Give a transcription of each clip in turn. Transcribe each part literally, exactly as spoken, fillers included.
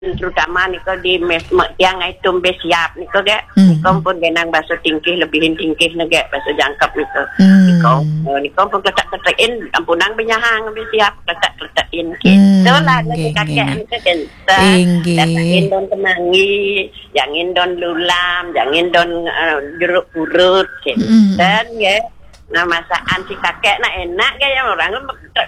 terutama nika di mes, me-, tiang itum besiap nika, gek. Hmm. Nika pun genang basa tingkih, lebihin tingkih ne, gek, basa jangkep nika. Hmm. Nika, eh, nika pun kletek-kletekin, ampunang benyahang besiap, kletek-kletekin. Hmm, gitu lah, nggih, kakek nggih, nggih. Nika kenten. Inggih. Kletekin don kemangi, jangin don lulam, jangin don, eh, jeruk purut, gitu. Hmm. Dan, ya, nah, masakan si kakek nak enak, gaya orang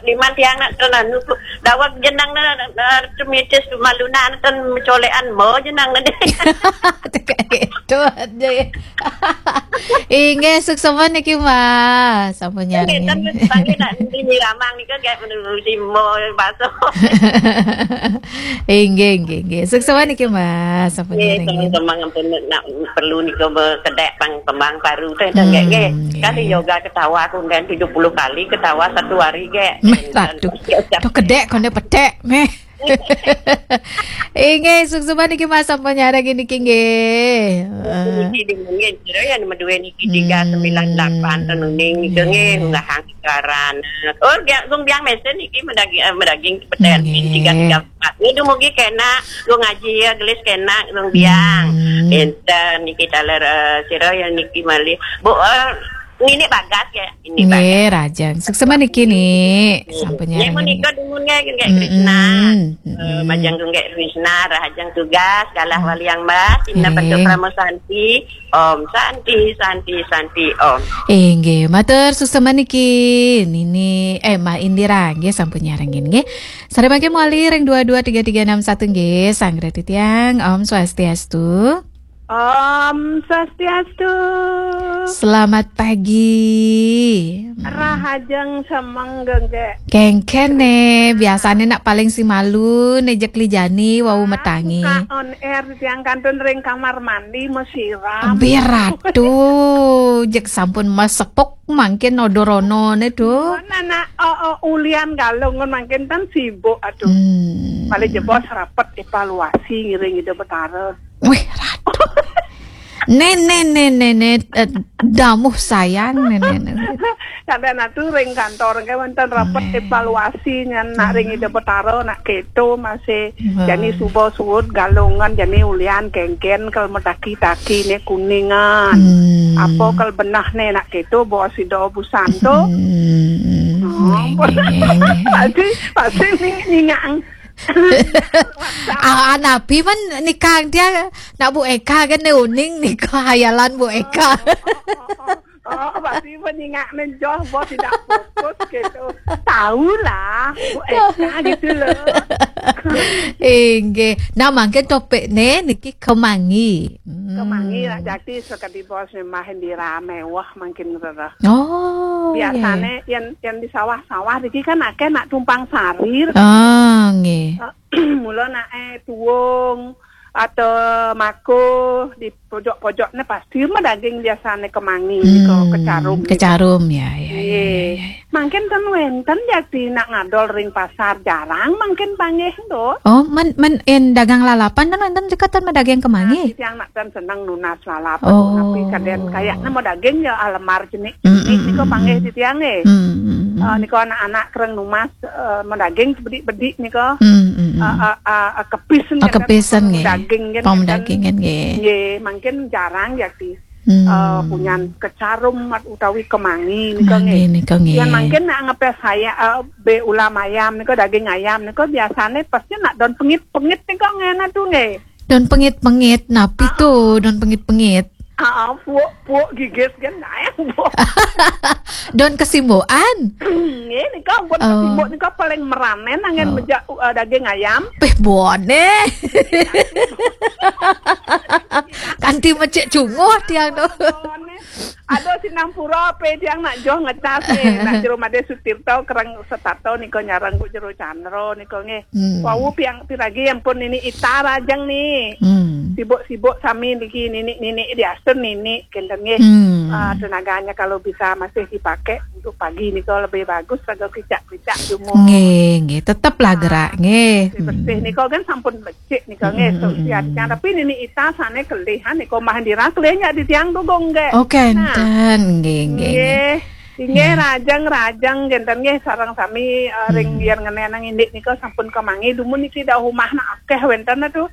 liman tiang nak terlalu dawak jenang na, na, tumitis maluna, ten mencolekan mo jenang na deh. Tekak itu aja ya. Inggih, suksma niki, Mas. Sampun nyarengin. Nggih, ten panggih nak nyirami nika, gek, menurusi mo baso. Inggih, inggih, inggih. Suksma niki, Mas. Sampun nyarengin. Nggih, teman-teman, ampun nak perlu nika bekedek pang kembang paru teh, dah, gek, nggih. Hmm, nggih. Kali yoga ketawa aku kan tujuh puluh kali ketawa satu hari, gek. Meh, aduh. Tuh kedek, konde petek, meh. Inggih, suksma niki, Mas, sampun nyarengin niki, nggih. Eh. Niki di mungkin jero ya, nama dua niki tiga sembilan delapan, hmm, tenuning nika, nggih, nggih, nggak hang karan. Oh, biang, gung biang mesen niki medaging, eh, medaging peten, nggih, tiga tiga empat. Ini dumugi kena, gung ngaji ya, gelis kena, gung biang. Hmm. Enten niki taler, eh, sira ya niki malih. Bu, eh, ini bagas ya, ini bagas. Nggih, rajang. Suksma niki, Nik. Nggih. Sampun nyarengin. Nggih, menika dumun nggih, nggih, Krishna. Mm-mm. Eh, mm-mm. Majeng nggih Krishna, rahajeng tugas, galah waliang mas, inna bentuk Krama Santi. Om Santi, Santi, Santi, Om. Inggih, matur suksma niki, Nini, eh, Ma Indira, nggih, sampun nyarengin, nggih. Sareng mangke mawali ring dua dua tiga tiga enam satu, nggih, sareng titiang, Om Swastiastu. Om Swastiastu. Selamat pagi. Rahajeng semeng, nggih. Kengken ne, biasane nak paling simalu, ne jek lijani, wau metangi. Buka on air, tiang kantun ring kamar mandi, mesiram. Biratu, jek sampun mesepuk, mangkin odorono ne, tuh. Mana nak, oh, oh, ulian galung, mangkin tan sibuk, aduh. Hmm. Paling jebos rapet evaluasi ngiring Ida Betara. Wih, ratu. Nene, nene, nene, eh, damuh sayang, nene, nene. Sampai natu ring kantor, ke wonten rapet evaluasi nyan nak ring Ida Betara, nak keto masih jani suba suud galungan, jani ulian kengken, kal metaki-taki ne kuningan. Hmm. Apa kal benah ne nak keto, bawa sida busanto. Hmm, nggih, nggih, nggih. Pasti, pasti ning-, ningang. Ah, napi men nikang dia nak Bu Eka kan ne uning nika hayalan Bu Eka. Oh, oh, oh, oh. Oh, pasti menyingak menjoh, bos tidak fokus gitu. Tahulah, Bu Eka gitu loh. Inggih. Nah, mangkin topik ne niki kemangi. Hmm. Kemangi lah, jadi sekadi bos memang dirame, wah, mangkin rereh. Oh, biasane yen, yen di sawah-sawah iki kan akeh nak tumpang sari. Ah, nggih. Mula nak, eh, tuung atau mako di pojok-pojok ne pasti mah daging biasane kemangi, hmm, nika kecarum, nika. Kecarum, ya, ya, ya, ya, ya. Mangkin ten wenten ya di nak ngadol ring pasar jarang mangkin panggih, Nduk. Oh, men, men en dagang lalapan ten wenten juga ten mah daging kemangi. Nah, tiang nak ten seneng nunas lalapan, oh, tapi kadang kayaknya mau daging ya alemar jenik. Mm, mm, nika mm, panggih mm, titiang nggih. Mm, mm, mm. Eh, nika anak-anak kereng numas, eh, medaging sebedik-bedik nika. Mm, mm, mm. Eh, eh, eh, eh, kepis, oh, nika kan kepis, pang nggih. Daging kan, pang kan daging kan, nggih. Nggih, mangkin jarang ya di, hmm, eh, punyan kecarum mat-, utawi kemangi nika, kemangi nggih. Nika nggih. Ya mangkin nak ngepes saya, eh, be ulam ayam nika, daging ayam nika biasane pasti nak don pengit-pengit nika ngena tuh nggih. Don pengit-pengit, napi tuh don pengit-pengit? Ah, puuk, puuk gigis kan, nah, yang puuk. Don kesimboan? Nggih, nika ampun, oh, kesimbok nika paling meranen angin, oh, mejak, uh, daging ayam. Peh, bone. Kanti mecek cunguh tiang tuh. Bone. Aduh, sinampura, pe tiang nak joh ngecas nggih. Nak jero Made Sutirta, kereng setato nika nyareng ku jero Chandra nika nggih. Hmm. Wau piang piragi ampun nini Ita rajeng ni. Hmm. Sibuk-sibuk sami niki nini, nini diatur nini kenten nggih. Hmm. Ah, tenaganya kalau bisa masih dipakai untuk pagi nika lebih bagus, raga kicak-kicak jumur. Nggih, nggih, tetep lah gerak nggih. Bersih, hmm, nika kan sampun becik nika nggih, hmm, hmm, hmm, siatnya. Tapi nini Ita sane kelih, ha, nika mah dirah kelih nyak di tiang tuh, Gong, nggih. Oh, kenten, nggih, nggih, nggih. Nggih. Inggih, hmm, rajang-rajang kénten nggih sareng sami, eh, ring, hmm, yen ngenenang indik nika sampun kemangi, dumun niki dawuh umahna akeh wénten tuh.